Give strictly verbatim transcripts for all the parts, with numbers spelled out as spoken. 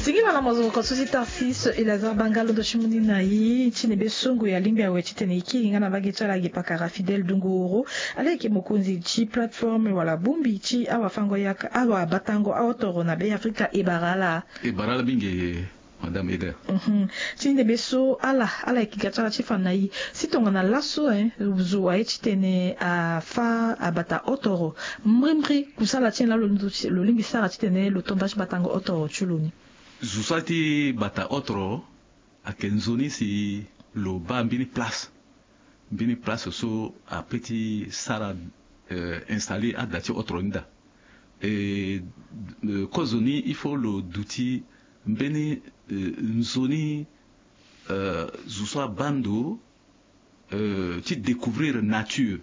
Singila na mazoko so ti Tarsis Elazar Banga, londo ti mu ni na e ti nebe so ngoi alingbi awe titene e kiri nga na mbage ti ala ge pakara Fidèle Dunguru. Ala yeke mokonzi ti plateforme wala bongbi ti awafango yaka awabatango aotoro na Be Afrika e bara ala. E bara ala mingi, madame Eder. Mhm. Ti nebe so ala ala yeke ga ti ala ti fa na e si tongana laso, eh, zo aye titene afa abata otoro. Mbrimbri kusala ti nyen laa lo lingbi sara titene lo to nda ti batango otoro ti lo ni? Zo so aye ti bata otoro ayeke nzoni si lo baa mbeni place. Mbeni place so ape ti sara, eh, installer ada ti otoro ni daa. E, eh, kozoni il faut lo duti mbeni, eh, nzoni, eh, zo so abaa ndo, eh, ti découvrir nature.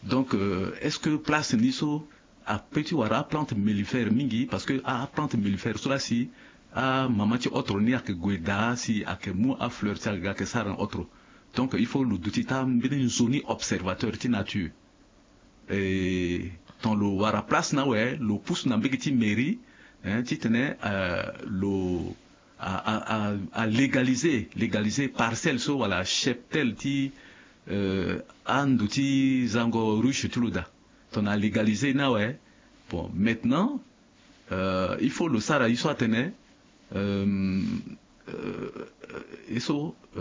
Donc, eh, est-ce que place ni so ape ti wara aplante mellifère mingi? Parce que aplante mellifère so laa si amama ti otoro ni ayeke gue daa si ayeke mu afleur ti ayeke ga ayeke sara na otoro. Donc il faut lo duti taa mbeni nzoni observateur ti nature. Eh, ton lo wara place ni awe, lo pusu na mbage ti mairie, eh, titene, eh, lo a, a, a, a légaliser, légaliser parcelle so wala cheptel ti, eh, ando ti zango ruche ti lo daa. Ton a légaliser ni awe. Bon, maintenant, eh, il faut lo sara ye so atene, eh, eh, ye so, eh,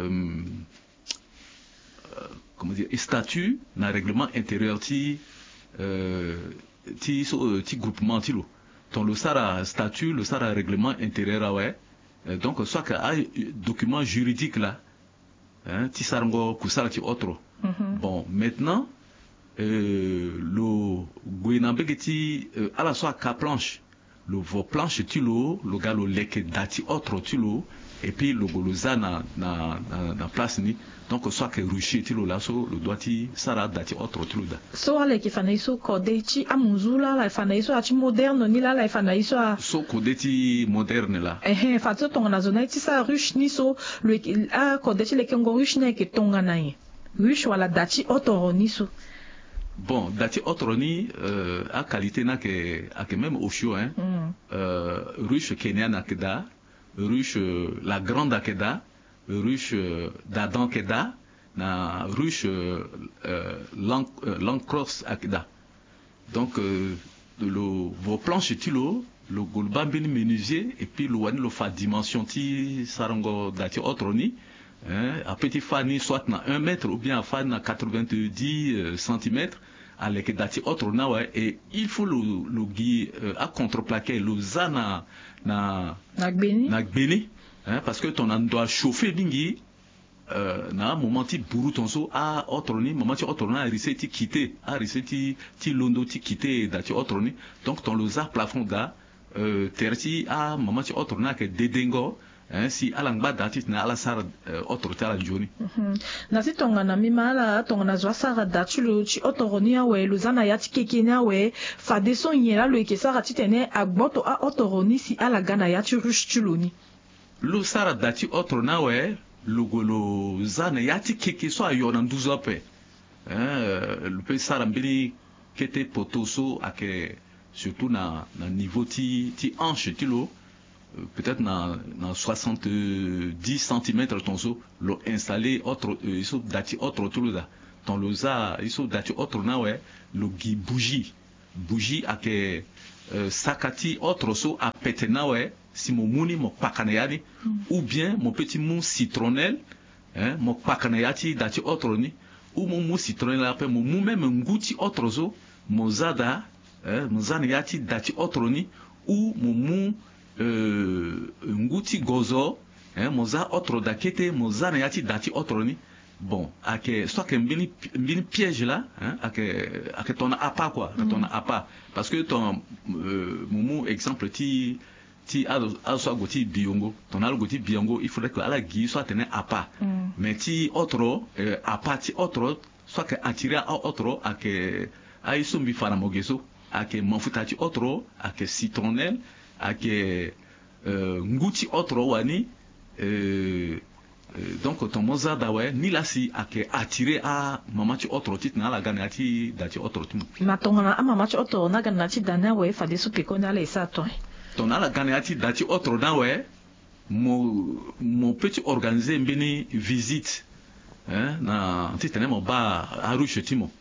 eh, comment dire, statut na règlement intérieur ti, eh, ti so, eh, ti groupement ti lo. Ton lo sara statut, lo sara règlement intérieur awe. Eh, donc so ayeke adocument juridique laa, hein, ti sarango kusala ti otoro. Mhm. Bon, maintenant, eh, lo gue na mbage ti, eh, ala so aka planche, lo vo planche ti lo, lo ga lo leke da ti otoro ti lo, et puis lo gue lo za na, na, na, na place ni. Donc so ayeke ruche ti lo laa so lo doit ti sara ada ti otoro ti lo daa. So ala yeke fa na e so kode ti amunzu laa ala fa na e so ati moderne ni laa ala fa na e so a. So kode ti moderne laa. Ehe, fa so tongana zo na e ti sara ruche ni so lo yeke, akode ti lekengo ruche ni ayeke tongana nyen? Ruche wala da ti otoro ni so. Bon, da ti otoro ni, eh, aqualité ni ayeke, ayeke même osio, hein. Mm. Eh, ruche kenya ni ayeke daa, ruche, eh, la grande ayeke daa, ruche, eh, d'Adam ayeke daa, na ruche, eh, eh, Lan-, eh, Lancrosse ayeke daa. Donc, eh, lo vo planche ti lo, lo gue lo baa mbeni menuisier, et puis lo wani lo fa dimension ti sarango da ti otoro ni, hein, ape ti fa ni soit na un mètre ou bien afa ni na quatre-vingt-dix, euh, centimètres, aleke da ti otoro ni awe, et il faut lo, lo gi, euh, acontreplaqué, lo za na, na, na gbe ni, hein, parce que ton na ndo achauffer mingi, euh, na amoment ti buru ton so, a otoro ni, moment ti otoro ni arise ti quitter, arise ti, ti londo ti quitter da ti otoro ni. Donc ton lo za plafond daa, euh, tere ti amoment ti otoro ni ayeke dedengo, hein, si ala ngba daa titene ala sara, euh, otoro ti ala nzoni. Mhm. Na si tongana mbi ma ala, tongana zo asara da ti lo ti otoro ni awe, lo za na ya ti keke ni awe, fadeso nyen laa lo yeke sara titene agboto aotoro ni si ala ga na ya ti ruche ti lo ni? Lo sara da ti otoro ni awe, lo gue lo za na ya ti keke so ayo na nduzu ape. Hein, euh, lo peut sara mbeni kete poto so ayeke surtout na, na niveau ti, ti hanche ti lo, euh, peut-être na, na soixante-dix centimètres ton so, lo installer otoro, euh, ye so da ti otoro ti lo daa. Ton lo za ye so da ti otoro ni awe, lo gi bougie. Bougie ayeke, euh, saka ti otoro so apete ni awe, si mo mu ni mo kpaka na ya ni. Mm. Ou bien mo peut ti mu citronnelle, hein, mo kpaka na ya ti da ti otoro ni. Ou mo mu citronnelle ape, mo mu même ngu ti otoro so, mo za daa, hein, mo za na ya ti da ti otoro ni. Ou mo mu, euh, ngu ti gozo, hein, mo za otoro daa kete, mo za na ya ti da ti otoro ni. Bon, ayeke so ayeke mbeni, mbeni piège laa, hein, ayeke, ayeke tongana appât quoi, ayeke tongana appât. Parce que ton, euh, mo mu exemple ti, ti azo, azo so ague ti biongo. Tongana ala gue ti biongo, il faudrait que ala gi ye so atene appât. Mm. Mais ti otoro, euh, appât ti otoro so ayeke attirer aotoro ayeke aye so mbi fa na mo ge so. Ayeke mafuta ti otoro, ayeke citronnelle, ayeke, euh, ngu ti otoro wani, euh, euh, donc ton mo za daa awe, nilaa si ayeke attirer amama ti otoro titene ala ga na ya ti da ti otoro ti mo. Na tongana amama ti otoro ni aga na ya ti da ni awe, fadeso pekoni ala e sara tongana nyen? Tongana ala ga na ya ti da ti otoro ni awe, Mo, mo peut ti organiser mbeni visite, hein, na titene mo baa aruche ti mo.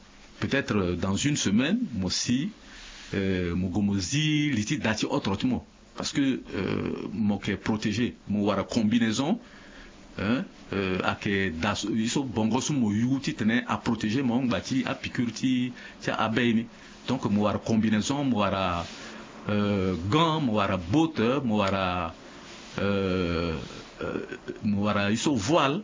Peut-être, euh, dans une semaine mo si, euh, mo gue mo zi li ti da ti otre ti mo. Parce que, euh, mo yeke protégé, mo wara combinaison, hein, euh, ayeke da so, ye so bongo so mo yu titene aprotégé mo ngba ti apiqûre ti, ti abeille ni. Donc mo wara combinaison, mo wara, euh, gant, mo wara botte, mo wara, euh, euh, mo wara ye so voile,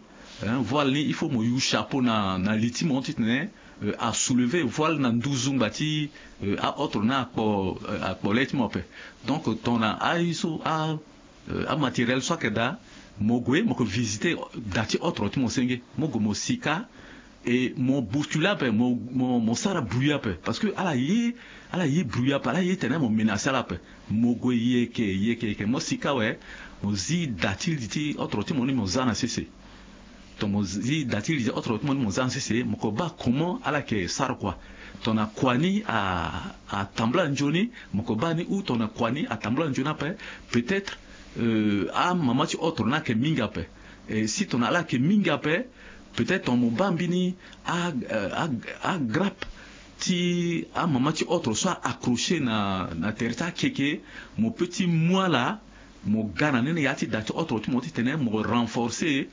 hein, voile ni il faut mo yu chapeau na, na li ti mo titene, euh, asoulever voile na nduzu ngba ti, euh, aotre na akpo, euh, akpo le ti mo ape. Donc tongana aye so a, euh, amatériel so ayeke daa, mo gue mo yeke visiter da ti otre ti mo senge, mo gue mo si kâ. Et mo bousculer ape, mo, mo, mo sara bruit ape, parce que ala ye, ala ye bruit ape, ala ye tene mo menacer ala ape. Mo gue yeke, yeke, yeke, mo si kâ awe, mo zi da ti li ti otre ti mo ni mo za na sese. Tongana mo zi da ti li ti otre ti mo ni mo za na sese, mo yeke baa comment ala yeke sara kua. Tongana kua ni a, atambula nzoni, mo yeke baa ni, ou tongana kua ni atambula nzoni ape, peut-être, euh, amama ti otre ni ayeke mingi ape. Et si tongana ala yeke mingi ape, peut-être tongana mo baa mbeni a, euh, a, agrappe ti amama ti otre so a accrocher na, na tere ti akeke, mo peut ti mu ala, mo ga na ni na ya ti da ti otre ti mo titene mo renforcer,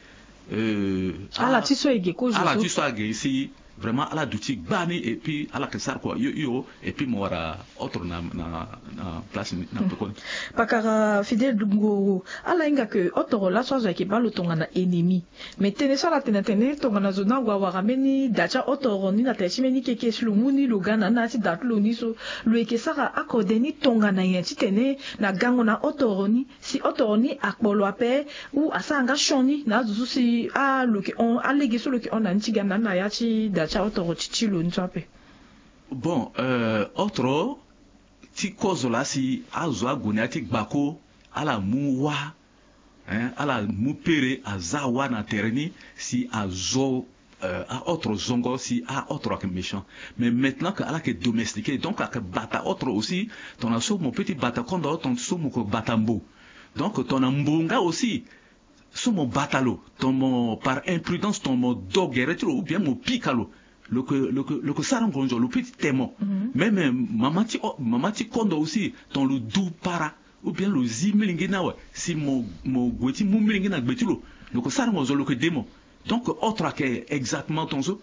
euh, ala ti so ege kozo, ala ti so age si vraiment ala duti gbani, et puis ala yeke sara kua hio hio, et puis mo wara otre na, na, na place ni na pekoni. Pakara Fidèle Dunguru, ala hinga ke otre laso azo ayeke baa lo tongana ennemi. Mais tënë so ala tene atene tongana zo ni ague awara mbeni da ti aotre ni na tere ti mbeni keke si lo mu ni lo ga na ni na ya ti da ti lo ni so, lo yeke sara akode ni tongana nyen titene na gango na otre ni, si otre ni akpo lo ape, ou asara nga sioni na azo so si a lo yeke hon, alege so lo yeke hon na ni ti ga na ni na ya ti da ti aotre ti ti lo ni so ape. Bon, euh, otre ti kozo laa si azo ague na ya ti gbako, ala mu wâ, hein, ala mu pere aza wâ na tere ni si azo, euh, aotre zongo si aotre ayeke méchant. Mais maintenant que ala yeke domestiqué, donc ayeke bata otre aussi. Tongana so mo peut ti bata kondo, tongana so mo yeke bata mbo. Donc tongana mbo nga aussi, so mo bata lo, tongana mo par imprudence, tongana mo do gere ti lo ou bien mo pika lo, lo yeke, lo yeke, lo yeke sara ngonzo, lo peut ti te mo. Mhm. Même, euh, mama ti o-, mama ti kondo aussi, tongana lo du para ou bien lo zi milingbi ni awe, si mo, mo gue ti mu milingbi ni na gbe ti lo, lo yeke sara ngonzo, lo yeke de mo. Donc otre ayeke exactement tongana so.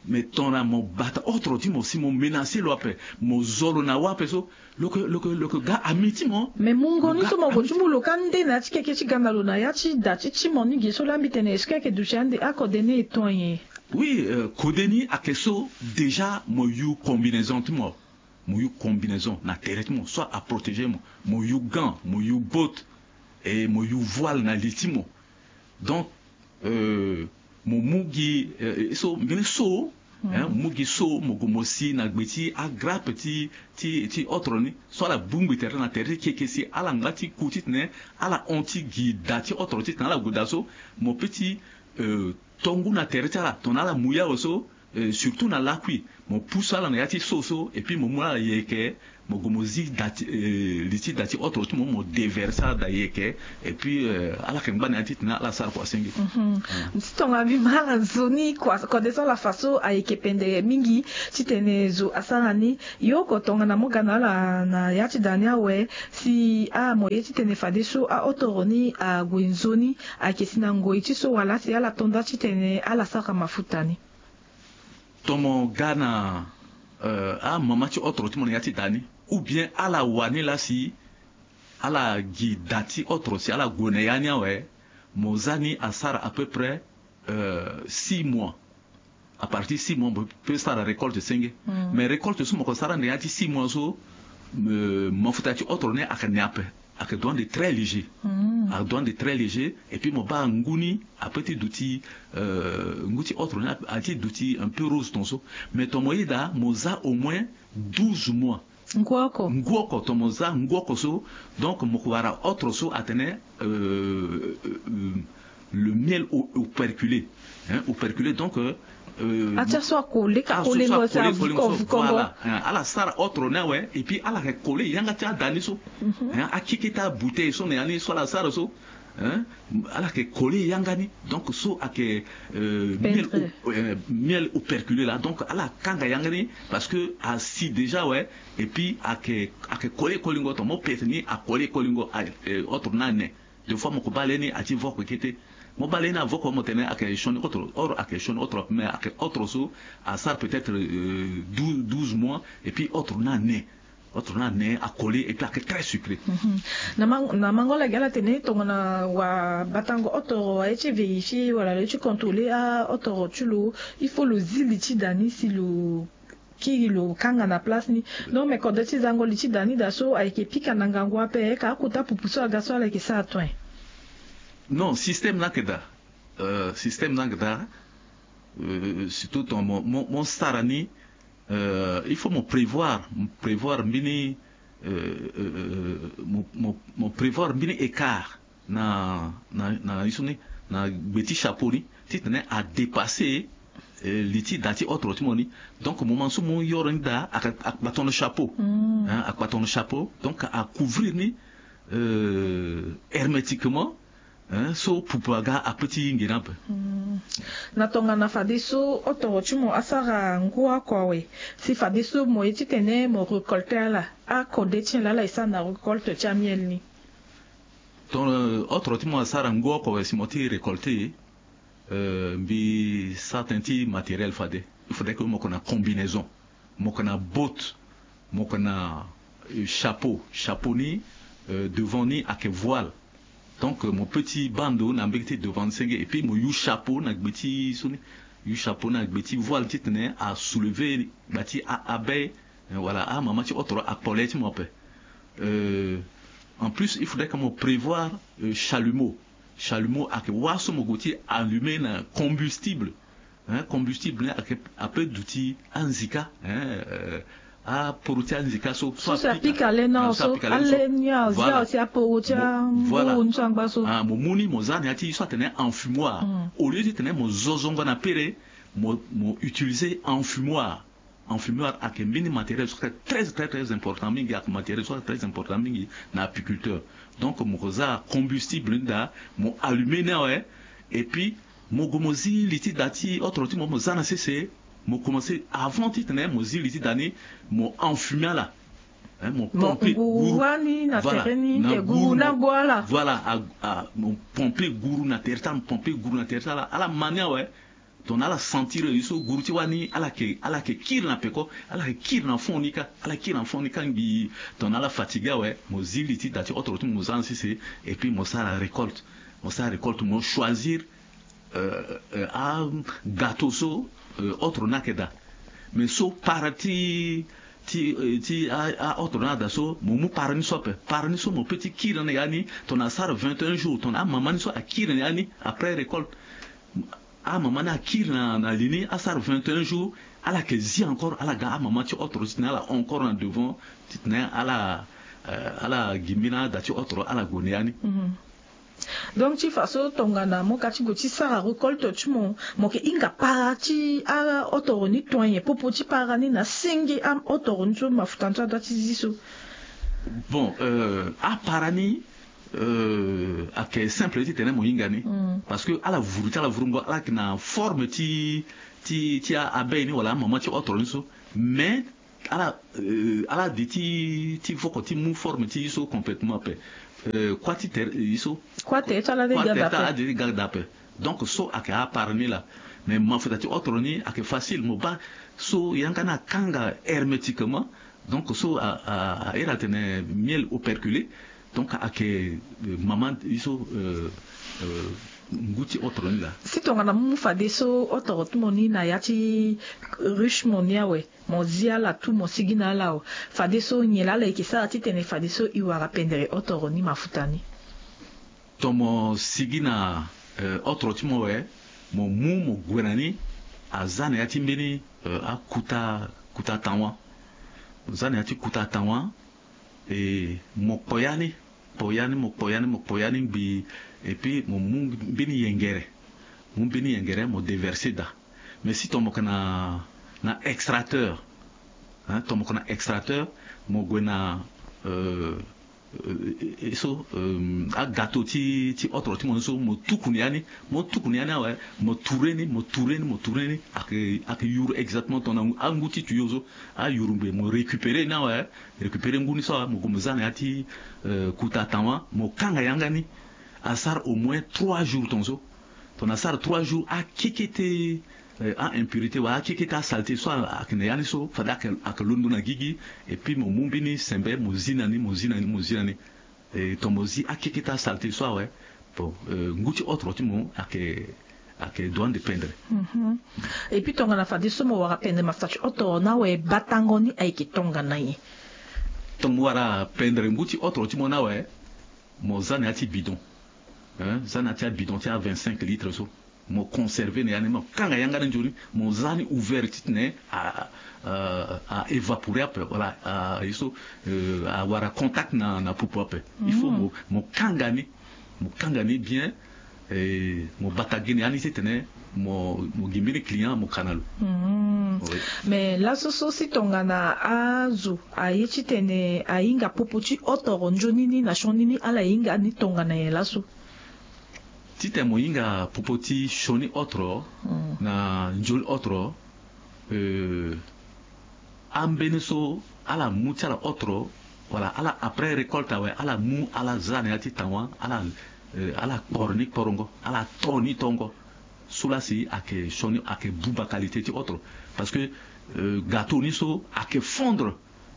Mais tongana mo bata otre ti mo si mo menacer lo ape, mo zo lo na wâ ape so, lo yeke, lo yeke, lo yeke ga ami ti mo. Mais mungo ni so mo gue ti mu lo kâ nde na ya ti keke ti ga na lo na ya ti da ti ti mo ni ge so laa mbi tene est-ce que ayeke duti ande akode ni e to nyen? Oui, euh, kode ni ayeke so, déjà mo yu combinaison ti mo. Mo yu combinaison na tere ti mo so aprotégé mo. Mo yu gant, mo yu botte, et mo yu voile na li ti mo. Donc, euh, mo mu gi, euh, so, mbeni so, hein, mo mu gi so, mo gue mo si na gbe ti agrappe ti, ti, ti otre ni so ala bongbi tere na tere ti keke si ala ngba ti ku titene ala hon ti gi da ti otre titene ala gue daa so, mo peut ti, euh, to ngu na tere ti ala tongana ala mu ye awe so, euh, surtout na lakui, mo pusu ala na ya ti so so, et puis mo mu ala yeke, mo gue mo zi da ti, euh, li ti da ti otre ti mo, mo déverser ala daa yeke, et puis, euh, ala yeke ngba na ya ti tene ala sara kua senge. Mhm. Mm. Ti tongana mbi ma ala nzoni kua, kode so ala fa so ayeke pendere mingi titene zo asara ni. Yo oko tongana mo ga na ala na ya ti da ni awe, si a mo ye titene fadeso aotre ni ague nzoni, ayeke si na ngoi ti so wala si ala to nda titene ala sara mafuta ni? Tongana mo ga na, euh, amama ti otre ti mo na ya ti da ni, ou bien ala wani laa si ala gi da ti otre si ala gue na ya ni awe, mo za ni asara à peu près, euh, six mois. À partir six mois mo peut sara récolte senge. Mm. Mais récolte so mo yeke sara na ya ti six mois so, euh, mafuta ti otre ni ayeke ne ape. Ayeke doit de très léger. Mm. Ayeke doit de très léger. Et puis mo baa ngu ni ape ti duti, euh, ngu ti otre ni ape ti duti un peu rose tonso. Mais tongana mo yeda mo za au moins douze mois. Ngu oko. Ngu oko, tongana mo za ngu oko so, donc mo yeke wara otre so atene, euh, euh, euh, le miel o-, operculé. Hein, operculé, donc, euh, euh, atia so akole, ka kole ngo so, avuka, avuka ngo. Voilà. Hein, ala sara otre ni awe, et puis ala yeke kole yanga ti ada ni so. Mhm. Hein, akeke ti abouteille so na ya ni so ala sara so. Hein? Ala yeke kole yanga ni. Donc so ayeke euh, miel, au, euh, miel opercule la, donc ala kanga yanga ni parce que asi déjà, ouais. Et puis ayeke, ayeke kole kolingo, tongana mo pete ni akole kolingo. Autre na ane. Des fois mo ko bale ni ati voko kete. Mo bale ni avoko mo tene ayeke sioni autre, or ayeke sioni autre, mais ayeke autre so asara peut-être euh, douze mois et puis autre na ane. Autre na ane akole et puis ayeke très sucré. Mhm. Na mango lagi ala tene tongana wa batango autre aye ti vérifier wala lo ye ti contrôler a autre ti lo, il faut lo zi li ti da ni si lo kiri lo kanga na place ni. Donc me kode ti zango li ti da ni da so ayeke pika na ngangu ape ka akota pupu so aga so ala yeke sara toin. Non, système na yeke da. Euh, système na yeke da. Euh, surtout ton mo, mo, mo sara ni. Euh, il faut mo prévoir, mo prévoir mbeni euh, euh, mo, mo, mo prévoir mbeni écart na, na, na, na gbe ti chapeau ni titene adépasser euh, li ti da ti autre ti mo ni. Donc moment so mo yoro ni da akpa ton chapeau. Akpa ton chapeau, donc acouvrir ni euh, hermétiquement. Hein, so pupu aga ape ti nge ni ape. Na tongana fadeso autre ti mo asara ngu oko awe, si fadeso mo ye titene mo récolter ala, akode ti nyen laa ala e sara na récolte ti amiel ni? Ton euh, autre ti mo asara ngu oko awe si mo ti récolter euh, mbi sara tënë ti matériel fade. Il faudrait que mo yeke na combinaison, mo yeke na botte, mo yeke na euh, chapeau. Chapeau ni euh, devant ni ayeke voile. Donc euh, mo petit bando na mbege ti devant ni senge et puis mo use chapeau na gbe ti so ni, use chapeau na gbe ti voile titene asoulever gba ti abeille. Voilà, amama ti autre akpole ti mo ape. Euh, en plus il faudrait que mo prévoir euh, chalumeau. Chalumeau ayeke wâ so mo gue ti allumer na combustible. Hein, combustible ni ape duti anzika, hein, euh, aporo ti anzika so so si apika le na so ale ni azia aussi aporo ti anguru ni so angba so. Ah, mo mu ni mo za na ya ti so atene enfumoir. Au lieu titene mo zo zongo na pere, mo, mo utiliser enfumoir. Enfumoir ayeke mbeni matériel so très très très important mingi, ayeke matériel so très important mingi na apiculteur. Donc mo ko za combustible ni daa, mo allumer ni awe. Et puis mo gue mo zi li ti da ti autre ti mo, mo za na sese. Mo commencer avant titene mo zi li ti da ni, mo enfumer ala. Hein, mo pomper guru wani na tere ni, na guru na gbo ala. Voilà, mo pomper guru na tere ti ala, mo pomper guru na tere ti ala. Ala ma ni awe. Tongana ala sentir ye so guru ti wani ala yeke, ala yeke kiri na peko, ala yeke kiri na fond ni kâ, ala kiri na fond ni kâ ngbii. Tongana ala fatigué awe, mo zi li ti da ti autre ti mo, mo za na sese. Et puis mo sara récolte, mo sara récolte, mo choisir euh, euh, agâteau so euh, autre ni ayeke daa. Mais so para ti, ti, euh, ti a, a autre ni ada so, mo mu para ni so ape. Para ni so mo peut ti kiri na ni ya ni tongana asara vingt et un jours, tongana amama ni so akiri na ni ya ni après récolte. Amama ni akiri na, na li ni asara vingt et un jours, ala yeke zi encore, ala ga amama ti autre titene ala encore na devant titene ala, euh, ala gi mbeni ada ti autre ala gue na ya ni. Donc ti fa so tongana mo ka ti gue ti sara récolte ti mo, mo yeke hinga para ti a autre ni tonye popo ti para ni na senge a autre ni so mafuta ni so adoit ti zi so. Bon, euh, apara ni euh, ayeke simple titene mo hinga ni. Parce que ala vuru ti ala vurungo ala yeke na forme ti, ti, ti abeille ni wala amama ti autre ni so. Mais ala, euh, ala di ti, ti voko ti mu forme ti ye so complètement ape. Euh, kua ti tere ye so, kua tere ti ala de ga daa ape. Donc so ayeke apara ni laa. Mais mafuta ti autre ni ayeke facile, mo baa so yanga ni akanga hermétiquement. Donc so a, a, a iri atene miel operculé. Donc ayeke euh, mama ye so euh, euh, ngu ti autre ni laa. Si tongana mu fadeso autre ti mo ni na ya ti ruche mo ni awe, mo zi ala tout, mo sigi na ala awe, fadeso nyen laa ala yeke sara titene fadeso e wara pendere autre ni mafuta ni? Ton mo sigi na euh, autre ti mo awe, mo mu mo gue na ni, aza na ya ti mbeni euh, akuta, kuta tawa. Mo za na ya ti kuta tawa. E mo kpo ya ni, kpo ya ni, mo kpo ya ni, mo kpo ya ni ngbii. Et puis mo mu mbeni yengere, mu mbeni yengere mo déverser daa. Mais si ton mo yeke na, na extracteur, hein, ton mo yeke na extracteur, mo gue na euh, So agato ti ti otro ti mo ni so mo tuku ni ya ni, mo tuku ni ya ni awe, mo ture ni, mo ture ni, mo ture ni. Ayeke ayeke yuru exactement tongana angu ti tuyo so. Ayuru ngbe mo récupérer ni awe. Récupérer ngu ni so awe mo gue mo za na ya ti kuta tawa mo kanga yanga ni. Asara au moins trois jours tonso. Tongana asara trois jours akekete a impurité wala akekete asalté so ayeke na ya ni so fade ayeke londo na gigi. Et puis mo mu mbeni sembe mo zi na ni mo zi na ni mo zi na ni. Tongana mo zi akekete asalté so awe, bon, ngu ti otro ti mo ayeke ayeke doit de pendre. Et puis tongana fadeso mo wara pendre masta ti otro ni awe batango ni ayeke tongana nyen? Tongana mo wara pendre ngu ti otro ti mo ni awe, mo za na ya ti bidon. Za na ya ti abidon ti a vingt-cinq litres so. Mo conserver na ya ni mo kanga yanga ni nzoni. Mo za ni ouvert titene a a évapore ape wala a ye so awara contact na na popo ape. Il faut mo mo kanga ni, mo kanga ni bien. Mo bata gi na ya ni titene mo mo gi mbeni client mo ka na lo. Mais laso so si tongana azo aye titene ahinga popo ti otoro nzoni ni na sioni ni ala hinga ni tongana nyen laso? Titene mo hinga popo ti sioni otro na nzoni otro. Ambeni so ala mu ti ala otro wala ala après récolte awe ala mu ala za na ya ti tawa ala ala kporo ni kporongo ala to ni tongo. So la si ayeke sioni ayeke buba qualité ti otro. Parce que gato ni so ayeke fondre.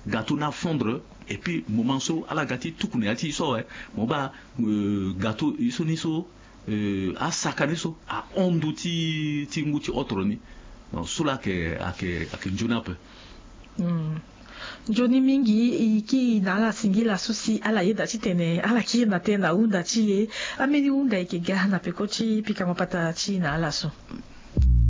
Gato ni afondre. Et puis moment so ala ga ti tuku na ya ti e so awe mo baa gato e so ni so asaka ni so ahon ndu ti ti ngu ti otro ni. Donc so la ayeke ayeke ayeke nzoni ape. Nzoni mingi e kiri na ala singila so si ala yeda titene ala kiri na tënë na hunda ti e. Ambeni hunda e yeke ga na peko ti pika mapata ti e na ala so?